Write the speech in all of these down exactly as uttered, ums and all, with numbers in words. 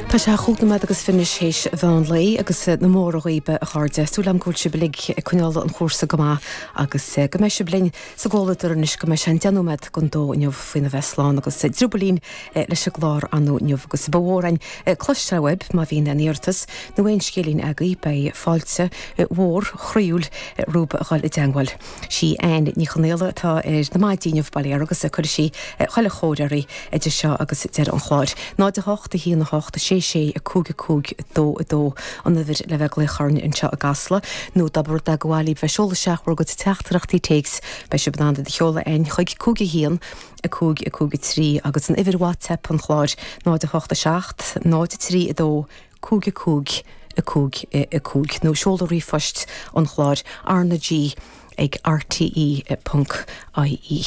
Tá sé chúig nóiméad agus fiche théis mheán lae agus na móra dhaoibh a chairde. Súil agam go bhfuil sibh uilig ag coinneáil an chúrsa go maith agus go mbeidh sibh linn sa gcomhluadar anois go mbeidh sé an deich nóiméad don dó inniu faoina bheith slán agus driobaillín leis an gclár anú inniu agus ba mhór againn cloisteáil uaibh má bhíonn aon iarratas nó aon scéilín agaibh beidh fáilte mhór chroíúil romhaibh a dhul i dteagmháil. Sí Anne Ní Chonaola atá ar na maidí inniu bail ó Dhia uirthi agus cuirfidh sí chuile chóir oraibh idir seo agus deireadh an chláir. Náid a hocht a haon a hocht sé sé a cúig a cúig dó a dó an uimhir le bheith ag glaoch orainn anseo i gCasla nó dá mba rud é gur mhaith libh bheith ag seoladh isteach bhur gcuid teachtaireachtaí téacs beidh sibh in ann iad a sheoladh chugainn chuig cúig a haon a cúig a cúig a trí agus an uimhir WhatsApp an chláir náid a hocht a seacht náid a trí a dó cúig a cúig a cúig a cúig nó seoladh ríomhphost an chláir RnaG ag RTE ponc IE.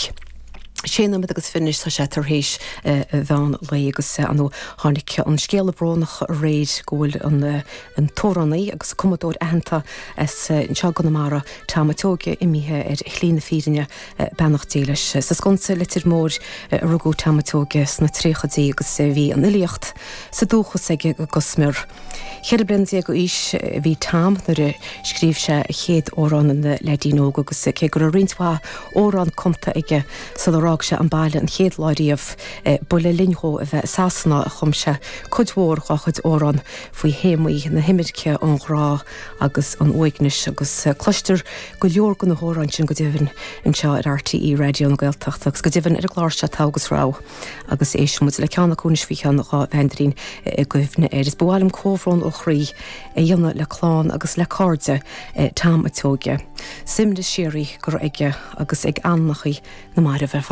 Sé nóiméad agus fiche tá sé tar éis mheán lae agus anu tháinig an scéala brónach aréir go bhfuil an an t-amhránaí agus cumadóir aitheanta as anseo Conamara Tom Seoige imithe ar shlí na fírinne beannacht Dé leis. Sa Sconsa Leitir Móir a rugadh Tom Seoige sna tríochaidí agus bhí an fhilíocht sa dúchas aige go smior. Ceithre bliana déag d'aois bhí Tom nuair a scríobh sé a chéad amhrán ina leaidín óg agus cé go raibh roinnt mhaith amhrán cumtha aige sular fhág sé an baile an chéad lá riamh ba le linn dó a bheith i Sasana a chum sé cuid mhór dá chuid amhrán faoi théamaí na himirce an ghrá agus an uaignis agus cloistear go leor de na hamhráin sin go deimhin anseo ar RTÉ Raidió na Gaeltachta agus go deimhin ar an gclár seo Togha agus Rogha agus éistfidh muid le ceann acu anois faoi cheann dhá bhandarín i gcuimhne air. Is ba mhaith liom comhbhrón ó chroí a dhéanamh le clann agus le cairde Tom Seoige. Suaimhneas síoraí go raibh aige agus ag anamacha na marbh ar fad.